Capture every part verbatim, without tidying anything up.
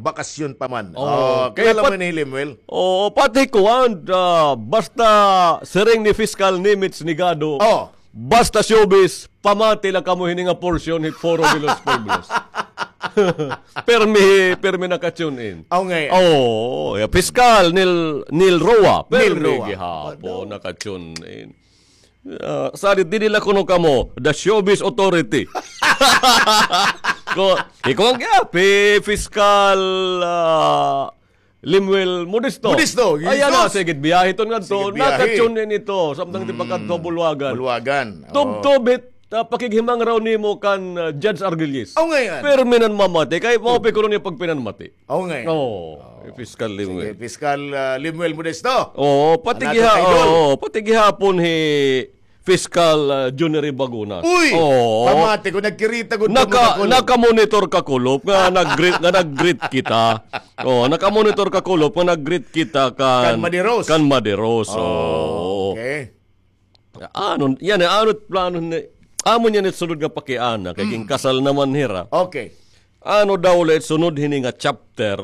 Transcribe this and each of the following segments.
bakasyon pa man. Oh, kilala mo ni Lemuel? Oo, pati kuan, ah, basta siring ni Fiscal Nimitz Nigado, basta showbiz, pamati la kamo hini nga portion hit Foro de los Pueblos. Permi, permi naka-tune in. Aw, ngay-an. Oo, ya, Fiscal Neil, Neil Roa, permi gihapon naka-tune in. Ah, salit, didi la kuno kamo, the showbiz authority. Ko, ikaw an giapi, Fiscal, ah, Lemuel Modesto. Modesto, ay, ano, sige, biyahe ton ngadto. Naka-tune in ito, samtang tipakadto Bulwagan. Bulwagan. Tubtob hit, ah, pakighimangraw nimo kan, ah, Judge Argüelles. Aw, ngay-an. Permi nan mamati, kay mao pa kuno niya pagpinanmati. Oo, ngay-an. Oo, Fiscal Lemuel. Sige, Fiscal, ah, Lemuel Modesto. Oo, pati giha-, oo, pati gihapon hi Fiscal, ah, Junior Bagunas. Uy! Oo. Pamati ko, nagkirita gud kamo, naka-, naka-monitor ka, Kulop, nga nag-greet, nga nag-greet kita. Oo, naka-monitor ka, Kulop, nga nag-greet kita kan, kan Madiros. Kan Madiros, oo. Okay. Ano, yana, ano plano ni, amo niyan it sunod nga pakiana, kay ginkasal naman hira. Okay. Ano daw la it sunod hini nga chapter,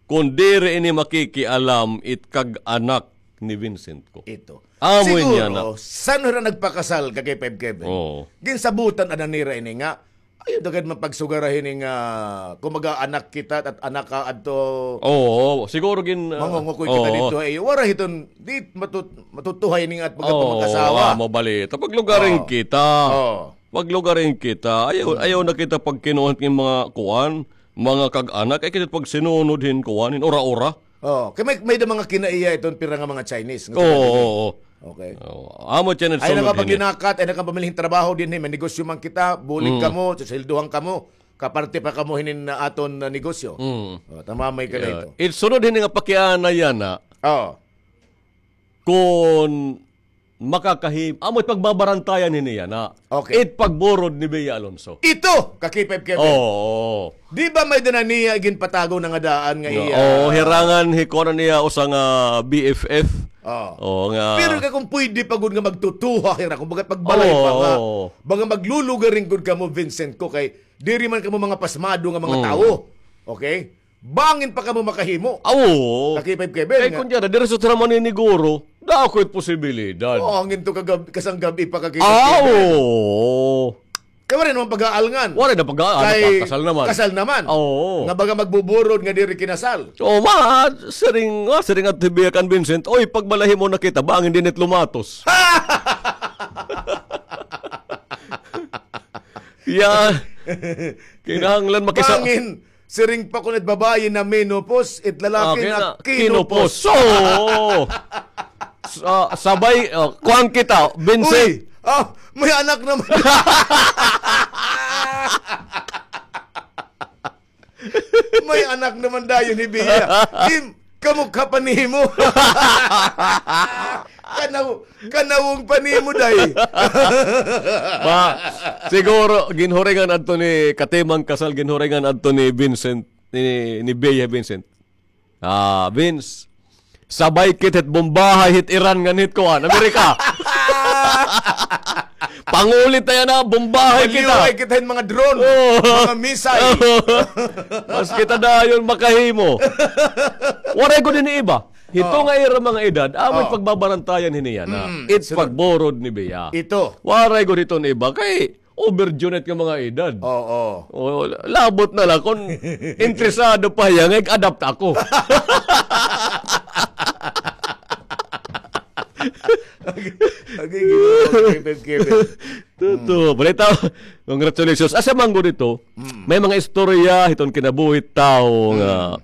kon diri ini makikialam it kag-anak ni Vincent ko. Ito. Amo niyan na. Siguro, san hira nagpakasal ka kay Five Kevin? Oo. Ginsabutan ana nira ini nga, ayaw daw gad man pagsugara hini nga, kumbaga, anak kita, at anak ka adto. Oo, siguro gin, ah, mangungukoy kita dito, eh, wara hiton, di matut-, matutuhay ini nga at pagkapamag-asawa. Oo, amo bali. Paglugarin kita. Oo. Paglugarin kita. Ayaw, ayaw na kita pagkinuha hin mga kuan, mga kag-anak, ay kita pagsinunod hin kuan, hin ura-ura. Oo. Kay may, may da mga kinaiya iton pira nga mga Chinese nga taga dinhi. Oo, oo. Okay. Oo. Amo tiyan it sunod hini. Ay, nakapaginakat, ay nakapamilhing trabaho dinhi, may negosyo man kita, bulig kamo, susuweldohan kamo, kaparte pa kamo hinin aton, ah, negosyo. Mm. Oh, tamamay ka na ito. It sunod hini nga pakiana yana. Oo. Kon makakahim-, amo it pagbabarantayan hini yana. Okay. It pagburod ni Bea Alonso. Ito, ka K five Kevin. Oo. Di ba may dana niya ginpatago na nga daan nga iya? Oo, hirangan hi kuan niya usa nga B F F. Oo. Oo, nga. Pero ka kung pwede pa gud nga magtutuha, hira, kung baga pagbalay pa nga. Oo. Baga maglulugaring gud kamo, Vincent ko, kay diri man kamo mga pasmado nga mga tawo. Okay? Bangin pa kamo makahimo. Aw, oo. Ka K five Kevin. Kay nga, kun diyara, diri sa Traman ni Niguro, dako it posibilidad. Oo, hangin to kagab-, kasang gab-i pa ka K five Kevin. Aw, oo. Kay waray naman pag-aalngan. Waray na pag-aalngan, kay kasal naman. Kasal naman. Oo. Nga baga magbuburod nga diri kinasal. So, ma, siring, ma, siring adto hi Bea kan Vincent, "Oy, pagbalay himo na kita, bangin dinhi it lumatos." Yan. Kinahanglan makisa- Bangin, siring pa kuno it babayi na menopause, it lalaki na kinupos. Okay na, kinupos. So, sa-, sabay, oh, kuan kita, Vincent. Uy! Ah, may anak naman. May anak naman dayon hi Bea. Kim, kamukha pa nimo. Kanaw-, kanawong pa nimo, day. Ma, siguro, ginhuringan adto ni, katimang kasal, ginhuringan adto ni Vincent, ni, ni Bea Vincent. Ah, Vince, sabay kit hit bombahay hit Iran ngan hit kuan, Amerika. Panguli ta yana, bombahay kita. Maliway kita hin mga drone, oo, mga missile. Mas kita dayon makahimo. Waray gud ini iba. Hito nga ira mga edad, amo it pagbabarantayan hini yana. Mm, it pagburod ni Bea. Ito. Waray gud hiton iba. Kay, overjunit nga mga edad. Oo. O, labot na la kon interesado pa hiya nga ig-adapt ako. Okay, okay, Kevin, Kevin. Tuto, balita. Congratulations. Asa man gud ito? Mm. May mga istorya hiton kinabuhi tawo nga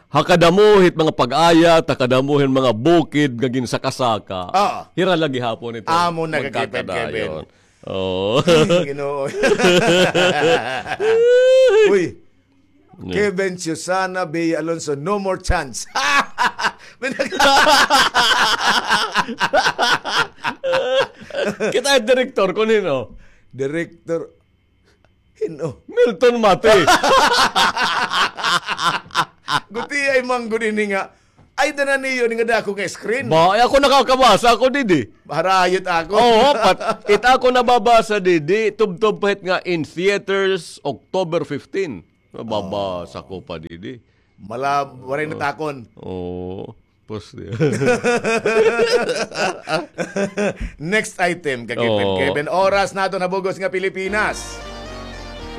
ha kadamo hit mga pag-ayat, ha kadamo hin mga bukid nga ginsaka-saka. Ah. Hira la gihapon ito. Amo na ka Kevin, Kevin. Oo. Ay, Ginoo. Uy. Yeah. Kevin, Susana, Bea Alonso, no more chance. Kita it direktor, kun hin-o? Direktor, hin-o? Milton Mati. Gutiay man gud ini nga. Ay, dana niyo ini nga dako nga screen. Ba, ay, ako nakakabasa ako didi. Harayot ako. Oo, pat-, it ako nababasa didi, tubtob pa hit nga in theaters, October fifteen. Mababasa ko pa didi. Mala, waray natakon. Oo. Pos. Next item, Kakipin Kevin. Oras naton ha bug-os nga Pilipinas.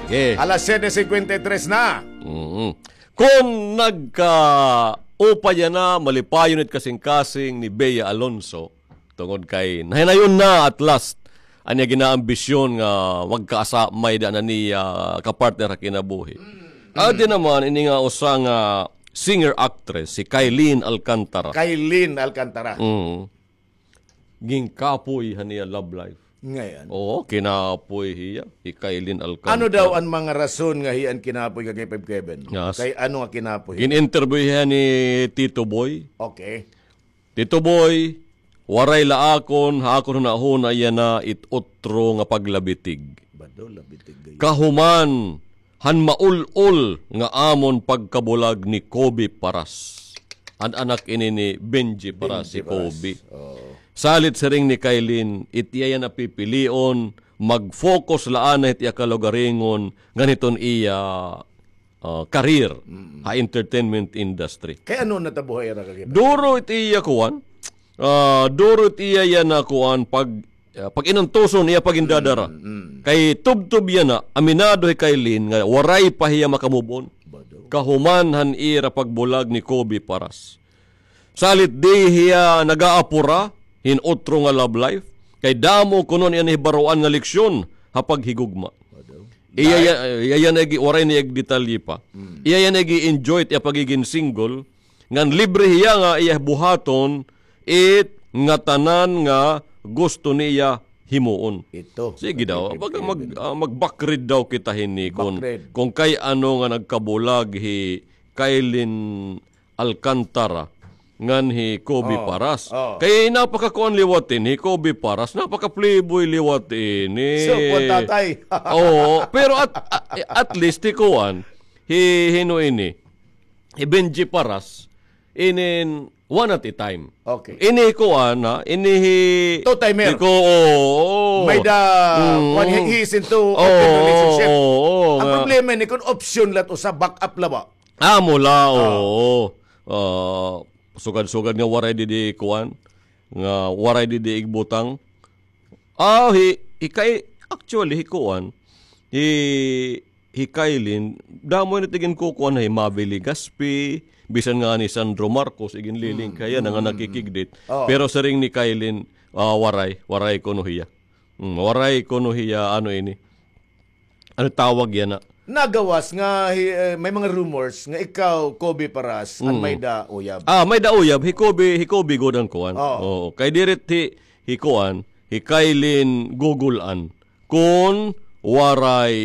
Sige. Alas siyete cincuenta y tres na. Mm. Kon nagkaupay yana, malipayon it kasingkasing ni Bea Alonzo, tungod kay nahinayon na at last an iya ginaambisyon nga magkaasa, may-ada na niya kapartner ha kinabuhi. Adi naman ini nga usa nga singer-actress, si Kyleen Alcantara. Kyleen Alcantara. Mm. Ginkapoy han iya love life. Ngay-an. Oo, kinapoy hiya, hi Kyleen Alcantara. Ano daw an mga rason nga hiya an kinapoy, Kakipin Kevin? Yes. Kay ano nga kinapoy hiya? Gin-interview hiya ni Tito Boy. Okay. Tito Boy, waray la akon, ha akon hunahuna yana it otro nga paglabitig. Bado, labitig gayod. Kahuman han maul-ol nga amon pagkabulag ni Kobe Paras. An anak ini ni Benji Paras, si Kobe. Oo. Salit siring ni Kyleen, it iya yana pipilion, mag-focus la anay hit iya kalugaringon, ngan hiton iya ah, career ha entertainment industry. Kay ano natabo ha ira, Kakipin? Duro it iya kuan. Ah, duro it iya yana kuan pag, ah, pag-inantuson iya pagindadara. Kay tubtob yana, aminado hi Kyleen nga waray pa hiya maka-move on. Kahuman han ira pagbulag ni Kobe Paras. Salit di hiya nagaapura hin otro nga love life, kay damo kuno an iya nahibaroan nga leksyon ha paghigugma. Iya, iya, iya, iya na igi-, waray na ig-detalye pa. Iya, iya na igi-enjoy it iya pagigin single, ngan libre hiya nga iya buhaton it ngatanan nga gusto niya himuon. Ito. Sige daw, mag, mag, ah, mag-backread daw kita hini kon, kon kay ano nga nagkabulag hi Kyleen Alcantara ngan hi Kobe Paras. Kay napakakuan liwat ini, hi Kobe Paras, napaka-playboy liwat ini. So, kuan tatay. Oo, pero at, at, at least hi kuan, hi, hino ini, hi Benji Paras, inin one at a time. Okay. Ini hi kuan, ha, ini hi two-timer. Hi ko, oo, oo. May da, kuan, he, he is into open relationship. Oo, oo. An problema ini, kon option la it usa, back up la ba? Amo la, oo. Ah, sugad-sugad nga waray didi kuan, nga waray didi igbutang. Ah, hi, hi Kay, actually, hi kuan, hi, hi Kyleen, damo ini it iginkukuan, hi Mavi Legaspi, bisan ngani Sandro Marcos, iginliling kay hiya na nga nakikigdit. Pero siring ni Kyleen, ah, waray, waray kuno hiya. Mm, waray kuno hiya, ano ini. Ano tawag yana? Nagawas nga hi-, eh, may mga rumors nga ikaw, Kobe Paras, an may-ada uyab. Ah, may-ada uyab. Hi Kobe, hi Kobe gud an kuan. Oo. Oo. Kay diri it hi, hi kuan, hi Kyleen gugulan kon waray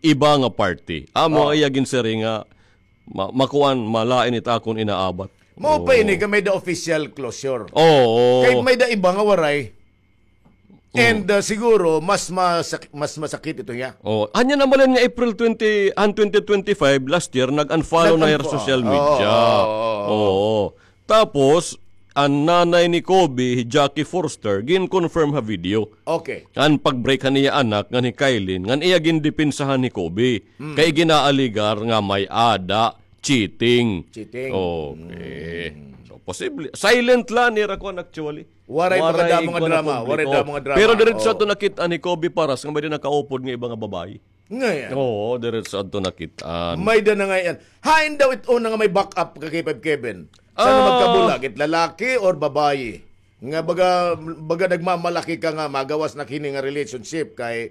iba nga party. Amo iya ginsiring nga ma-, makuan, malain it akon inaabat. Mao pa ini kay may-ada official closure. Oo. Kay may-ada iba nga waray. And, ah, siguro, mas masak-, mas masakit ito niya. Oh, anya naman nga April twenty, han twenty twenty-five, last year, nag-unfollow na hiya ha social media. Oo, oo, oo. Oo. Tapos, an nanay ni Kobe, hi Jackie Forster, gin-confirm ha video. Okay. An pag-break han iya anak, ngan hi Kyleen, ngan iya gindepensahan hi Kobe. Kay ginaaligar nga may-ada cheating. Cheating. Okay. So, posible. Silent la nira kuan actually. Waray pa kadamo nga drama, waray damo nga drama. Pero diretso adto nakit-an hi Kobe Paras nga may-ada nakaupod nga iba nga babayi. Ngay-an. Oo, diretso adto nakit-an. May-ada na ngay-an. Hain daw it una nga may back up, Kakipin Kevin? San-o magkabulag, it lalaki or babayi? Nga baga, baga nagmamalaki ka nga magawas na kini nga relationship kay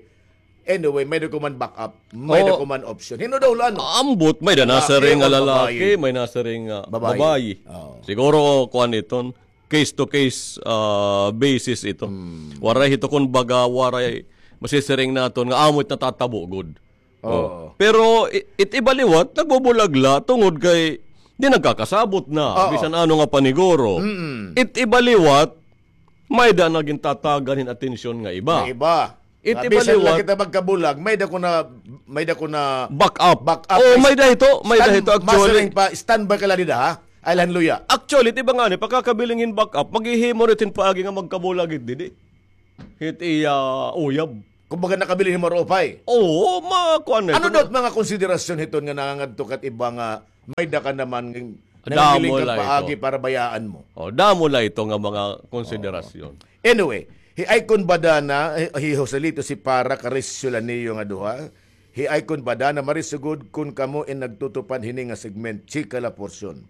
anyway, may-ada ko man back up, may-ada ko man option. Hin-o daw la, ano? Ambot, may-ada nasiring nga lalaki, may-ada nasiring nga babayi. Siguro, kuan iton, case to case, ah, basis ito. Waray hito kon baga, waray masisiring naton nga amo it natatabo gud. Oo. Pero i-, it iba liwat, nagbubulag la tungod kay di nagkakasabot na, bisan ano nga paniguro. It iba liwat, may-ada na gintatagan hin atensyon nga iba. Nga iba. It iba liwat. Bisan la kita magkabulag, may-ada ko na, may-ada ko na back up. Back up. Oo, may-ada hito, may-ada hito, actually. Masiring pa, standby ka la dida, ha? Ay, lan luya. Actually, it iba ngani, pakakabilin hin back up, maghihimo na it hin paagi nga magkabulag it didi. Hit iya uyab. Kumbaga, nakabilin hin maupay. Oo, ma-, kuan na ito. Ano daw it mga konsiderasyon hiton nga nangangadto ka it iba nga may-ada ka naman nga nanganghiling ka paagi para bayaan mo? Oh, damo la ito nga mga konsiderasyon. Anyway, hi Icon Badana, hi, hi Joselito, si Para, karisyo la niyo nga duha. Hi Icon Badana, marisugod kun kamo in nagtutupad hini nga segment, chika la portion.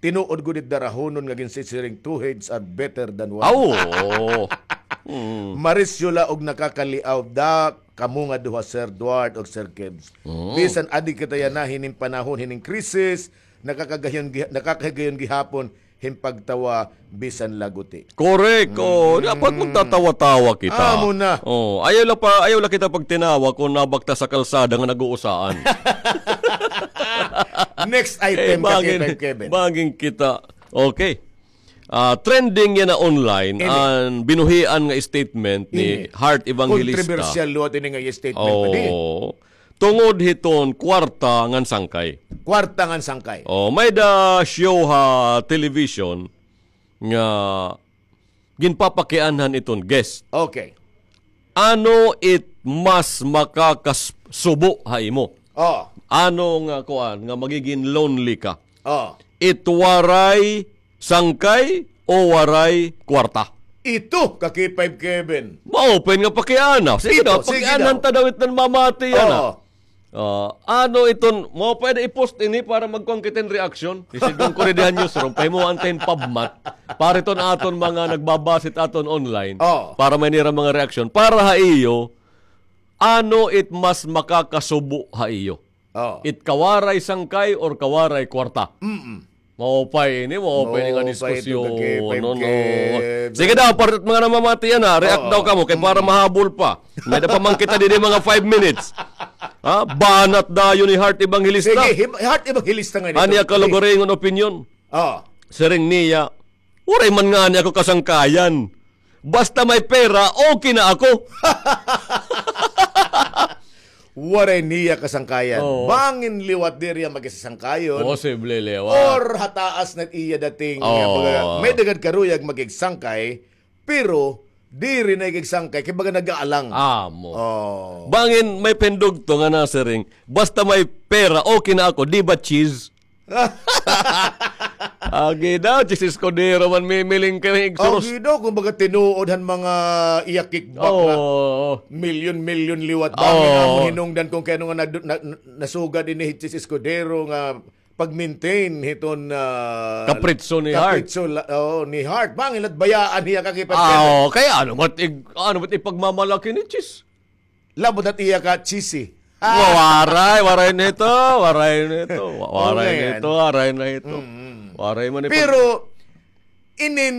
Tinuod gud it darahonon nga ginsisiring, two heads are better than one. Aw, oo. Mm. Marisyo la og nakakaliaw da kamo nga duha, Sir Duarte og Sir Kebs. Mm. Bisan adi kita yana hinin panahon, hinin krisis, nakakagayon gi-, nakakahigayon gihapon hin pagtawa bisan laguti. Correct. Oh, dapat magtatawa-tawa kita. Amo na. Oh, ayaw la pa, ayaw la kita pagtinawa kung nabaktas ha kalsada nga nag-uusaan. Next item, Kevin. Bangin kita. Okay. Ah, trending yana online an binuhian nga statement ni Heart Evangelista. Kontrobersyal liwat ini nga statement, padi. Oo. Tungod hiton kwarta ngan sangkay. Kwarta ngan sangkay. Oh, may-ada show ha television nga ginpapakianhan iton guest. Okay. Ano it mas makakasubo ha imo? Oh. Ano nga kuan nga magiging lonely ka? Oh. It waray sangkay o waray kwarta? Ito, ka K five Kevin. Maupay nga pakiana. Sige daw, pakianhan ta daw iton mamati yana. Oo. Ah, ano iton, maupay nga i-post ini para magkuan kita hin reaksyon. Isidong ko rin dihan newsroom, pahimuan ta hin pubmat. Para iton aton mga nagbabasa hit aton online, para may nira mga reaksyon. Para ha iyo, ano it mas makakasubo ha iyo? Oo. It kawaray sangkay or kawaray kwarta? Mm-mm. Maupay ini, maupay ini nga diskusyon. No, no. Sige daw, para mga namamati yana, react daw kamo, kay para mahabol pa. May-ada pa man kita didi mga five minutes. Ha? Banat dayon ni Heart Evangelista. Sige, Heart Evangelista nga ini. An iya kalugaringon opinyon. Oo. Siring niya, waray man ngani ako kasangkayan. Basta may pera, okay na ako. Waray niya kasangkayan. Oo. Bangin liwat diri iya magsasangkayon. Posible liwat. Or ha taas na iya dating, oo, nga baga, may-ada gad karuyag makigsangkay, pero diri na ikigsangkay, kay baga nag-aalang. Amo. Oo. Bangin may pindugto nga nasiring, basta may pera, okay na ako, di ba, cheese? Agi daw, cheese escudero man mimiling kay igsuros. Agi daw, kumbaga tinuod han mga iya kickback nga milyon-milyon liwat. Bangin amo hinungdan kung kay ano nga nadu-, na, na, nasugad ini cheese escudero nga pag-maintain hiton, ah, kapritso ni Heart. Kapritso la, oo, ni Heart. Bangin la bayaan hiya ka kay pagkita. Oo, kay ano ba't ig-, ano ba't ipagmamalaki ni cheese? Labot na it iya ka cheesy. Wa-, waray, waray na ito, waray na ito. Wa-, waray na ito, waray na ito. Mm. Waray man ito. Pero, inin,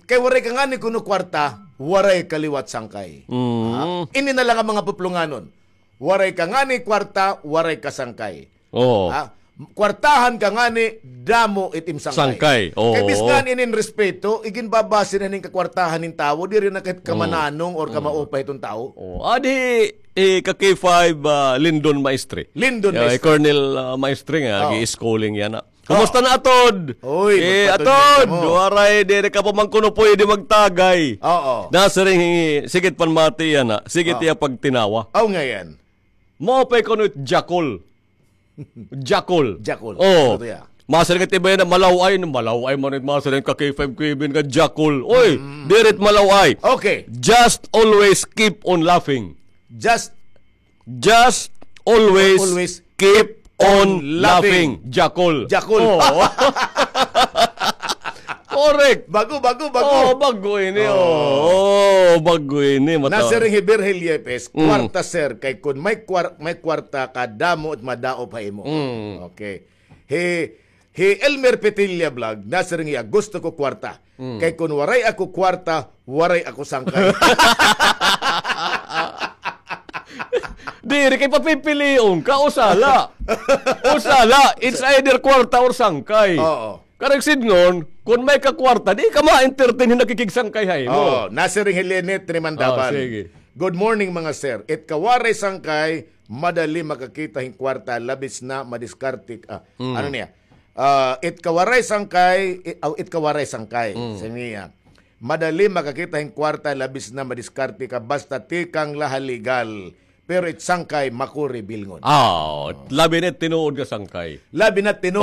kay waray ka ngani kuno kwarta, waray ka liwat sangkay. Mm. Ha? Ini na lang an mga puplonganon. Waray ka ngani kwarta, waray ka sangkay. Oo. Ha? Kwartahan ka ngani, damo it im sangkay. Sangkay, oo. Kay bisan inin respeto, iginbabase na hin kakwartahan hin tawo, diri na kay kamananong or kamaupay hiton tawo. Oo. Adi, eh, ka K five, ah, Lindon Maestre. Lindon Maestre. Colonel, ah, Maestre nga, gi-schooling yana. Kumusta na, Atod? Uy, eh, Atod, waray, diri ka pa man kuno pwede magtagay. Oo. Nasiring, sige it panmati yana, sige it iya pagtinawa. Aw, ngay-an. Maupay kuno it jakol. Jakol. Jakol. Oo. Masiring it iba yana, malaw-ay, malaw-ay man it masiring ka K five Kevin nga jakol. Oy, diri it malaw-ay. Okay. Just always keep on laughing. Just, just always keep on laughing. Jakol. Jakol. Oo. Correct. Bago, bago, bago. Oh, bago ini, oh. Oh, bago ini, mata. Nasiring hi Virgil Yepes, kwarta, sir, kay kun may kwar-, may kwarta ka, damo it madaop ha imo. Mm. Okay. Hi, hi Elmer Petilla Vlog, nasiring hiya, gusto ko kwarta. Mm. Kay kun waray ako kwarta, waray ako sangkay. Diri kay papipilion ka, usa la. Usa la, it's either kwarta or sangkay. Oo. Karuyag sidngon, kun may ka kwarta, di ka ma-entertain hin nakikigsangkay ha imo. Oo, nasiring hi Lynette Trimandaban. Oh, sige. Good morning, mga sir. It kawaray sangkay, madali makakita hin kwarta, labis na madiskarte. Ah, ano niya? Ah, it kawaray sangkay, it, aw, it kawaray sangkay. Mm. Sa niya. madali makakita hin kwarta, labis na madiskarte ka, basta tikang la ha legal. Pero it sangkay makuri bilngon. Ah, labi na it tinuod nga sangkay. Labi na it tinuod.